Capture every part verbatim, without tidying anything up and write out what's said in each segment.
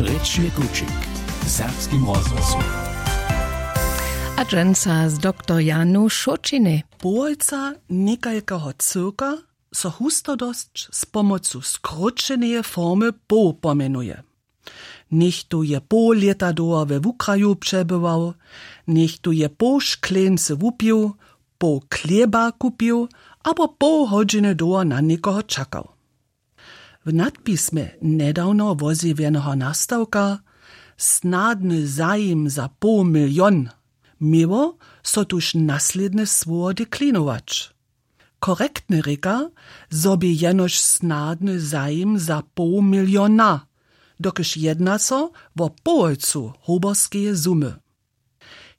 Rěčny kućik w serbskim rozhłosu. A dźensa z doktor Janu Šoćinej. Połojca někajkeho cyłka so hustodosć z pomocu skróćeneje formy poł pomjenuje. Něchtó je poł lěta dołho we wukraju přebywał, něchtó je poł škleńcy wupił, poł chlěba kupił abo poł hodźiny dołho na někoho čakał. W nadpismje njedawno wozjewjeneho nastawka snadny zajim za poł milion měło so tuž naslědne słowo deklinować. Korektnje rěka, zo bě jenož snadny zajim za poł miliona, dokelž jedna so wo połojcu hoberskeje sumy.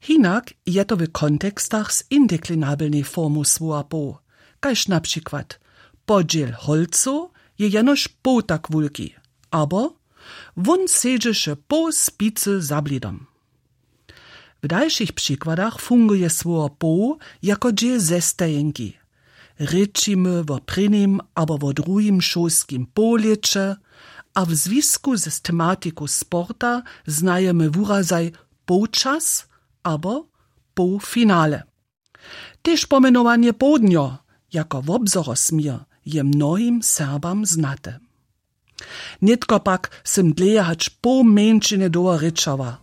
Hinak je to w kontekstach z indeklinabelnej formu słowa poł, kaž na přikład podźěl holcow je jenož poł tak wulki, abo wón sedźeše poł spicy za blidom. W dalšich přikładach funguje słowo poł jako dźěl zestajenki. Rěčimy wo prěnim abo wo druhim šulskim połlěće, a w zwisku z tematiku sporta znajemy wurazaj połčas abo połfinale. Tež pomjenowanje połdnjo jako wobzorosměr je mnohim Serbam znate. Nětko pak sym dlěje hač poł mjeńšiny dołho rěčała,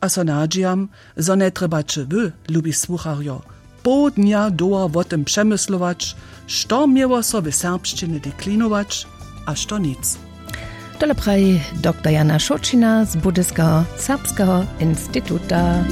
a so nadźijam, zo njetrjebaće wy, lubi słucharjo, poł dnja dołho wo tym přemyslować, što měło so w serbšćiny deklinować a što nic. Tole praji doktor Jana Šoćina z Budyskeho serbskeho instituta.